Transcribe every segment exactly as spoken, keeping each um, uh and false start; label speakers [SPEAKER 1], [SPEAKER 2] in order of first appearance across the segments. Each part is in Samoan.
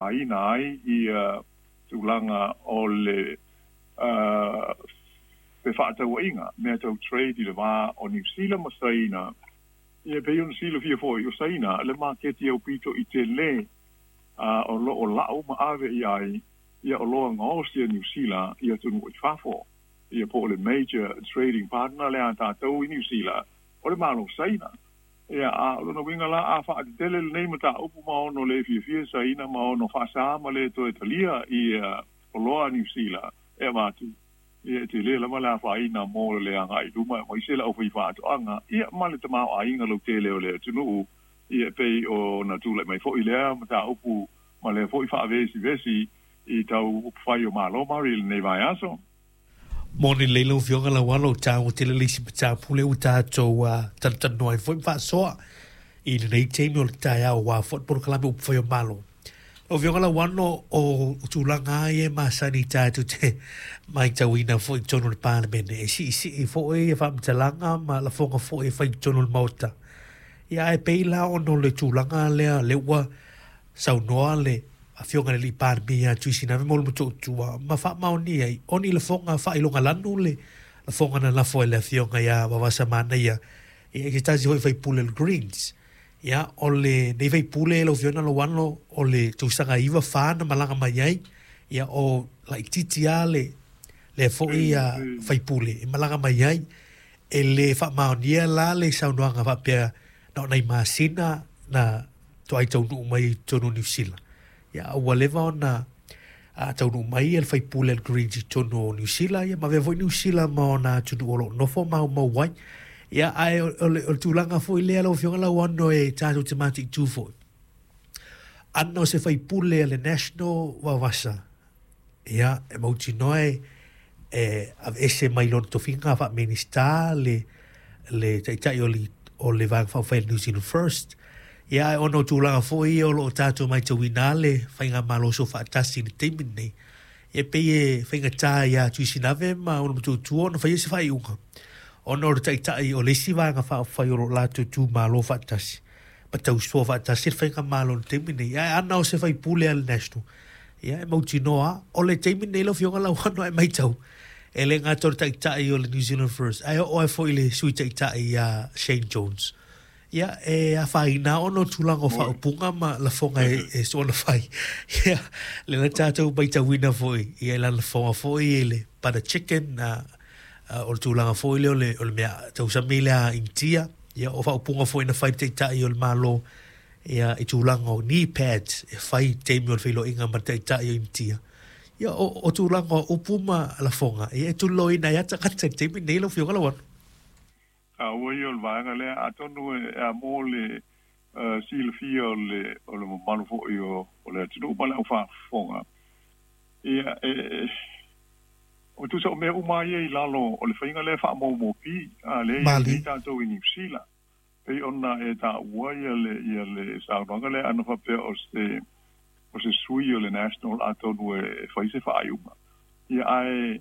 [SPEAKER 1] Aina ai ia tulaga o le uh, fefaatauaiga mea tau trade i le va o Niu Sila ma Saina. Ia pei ona silafia foi, o Saina le maketi aupito i telē uh, o loo lau ma ave i ai ia oloa gaosi a Niu Sila i atunuu i fafo. Ia po o le major trading partner le a tatou i Niu Sila o le Malo Saina. Ia a o lona uiga la, a faatetele lenei mataupu ma ono le fiafia Saina ma ono faasā ma le toe talia ia oloa a Niu Sila e avatu, ia e tele lava le afaina mo le agai luma aemaise le aufaifaatoaga ia ma le tamaoaiga lautele o le atunuu. Ia pei ona tulai mai foi lea mataupu ma lea foi faavesivesi i tau upufai o Malo mari i lenei vaiaso.
[SPEAKER 2] Moni lelei lau Afioga Laualo, o taua tele le isi mataupu lea ua tatou talatalanoa ai foi ma faasoa i lenei taimi o le taeao aua foi le polokalame upufai o Malo. Lau Afioga Lauano, o tulaga lava ia e masani tatou te matauina foi i totonu o le Palemene, e siisii foi ia faamatalaga ma lafoga foi e fai i totonu o le Maota. Ia ae pei la ona o le tulaga lea lea ua saunoa le Afioga i le Alii Palemia ia Tuisinave mo le Motootua ma faamaonia ai o ni lafoga faailogalanu le lafoga na lafo e le Afioga ia Vavasa Manaia ia i se tasi foi faipule o le Greens. Ia o lenei faipule lau Afioga Lauano o le tausaga iva fa na malaga mai ai, ia o laitiiti lava le lea foi faipule e malaga mai ai. E le faamaonia la le saunoaga faapea na o nai masina na toai taunuu mai i totonu o Niu Sila. Ia ua leva ona a taunuu mai le faipule a le Greens i totonu o Niu Sila, ia ma avea foi Niu Sila ma ona atunuu o lo o nofo maumau ai. Ia ae o le, o le tulaga foi lea lau Afioga Lauano e tatou te mataitu foi. Ana o se faipule a le National Vavasa, ia e mautinoa e e aveese mai lona tofiga faa-Minista le le taitai o le o le Vaega Faaupufai a le New Zealand First. Ia ae ona o tulaga foi ia o lo o tatou matauina le faigamalo soofaatasi i le taimi lenei, e pei e faigata ia Tuisinave ma ona Motootua ona faia se faaiuga, ona o le taitai o le isi Vaega Faaupufai o lo o latou tumalo faatasi ma tausoa faatasi le faigamalo i le taimi lenei. Ae ana o se faipule a le National, ia e mautinoa o le taimi lenei lau Afioga Lauano e matau, e le gata o le taitai o le New Zealand First, ae oo ai foi le Sui Taitai ia Shane Jones. Ia e afaina ona o tulaga o faaupuga ma lafoga e, e soona fai. Ia, le na tatou matauina foi, ia i lana lafoga foi i le butter chicken, uh, uh, o le tulaga foi lea o le, o le mea tausami lea Initia, ia o faaupuga foi na fai le taitai o le Malo, ia i tulaga o knee pads e fai taimi o le feiloaiga ma le taitai o Initia. Ia o, o tulaga o upu ma lafoga, ia e tuliloaina ai lava tagata i le taimi lenei lau Afioga Lauano.
[SPEAKER 1] Taua ia o le vaega lea, atonu e a mo le uh, silafia o le, o le mamalu foi o, o le atunuu ma le aufaafofoga. Ia, e, e, o tusa o mea uma ia i lalo o le faiga lea faamoumopi, a lea i nei tatou i Niu Sila. Pei ona e taua ia le, ia le saunoaga lea ana faapea o se, o se sui o le National atonu e fai se faaiuga. Ia ae,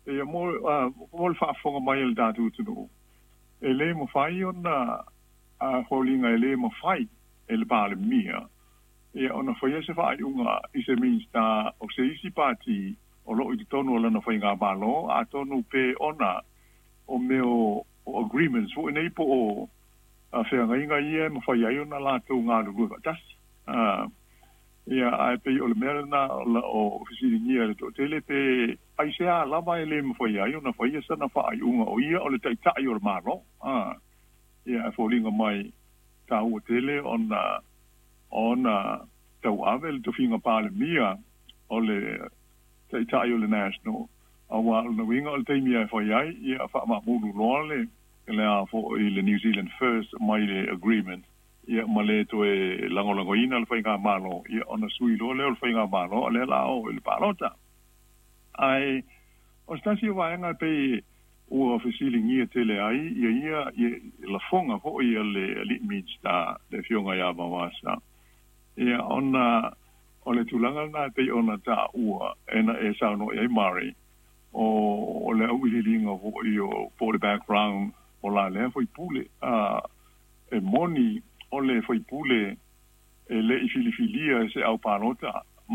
[SPEAKER 1] ia mo, uh, mo le faafofoga mai a le tatou atunuu, e le mafai ona a foliga e le mafai e le Palemia ia ona faia se faaiuga i se Minista o se isi pati o loo i totonu o lana faigamalo, atonu pe ona o mea o, o agreements foi nei po o feagaiga ia e mafai ai ona latou galulue faatasi. Uh, ia ae pei o le mea lena o fesiligia e le toatele pe aisea lava e le mafai ai ona faia sana faaiuga o ia o le taitai o le Malo. Ah, ia e foliga mai taua tele ona ona tauave le tofiga Palemia o le taitai o le National, auā o lona uiga o le taimi e fai ai ia faamaamulu loa le le a foi le New Zealand First mai le agreement ia ma le toe lagolagoina le faigamalo, ia ona sui loa lea o le faigamalo a lea la o i le palota. Ae o se tasi o vaega pei ua fesiligia tele ai ia ia ia lafoga foi a le alii Minista le Afioga ia Vavasa, ia ona o le tulaga lena e pei ona taua e na e saunoa i ai Murray o o le auiliiliga foi o po o le background o la lea faipule. A e moni o le faipule e le i filifilia e se au palota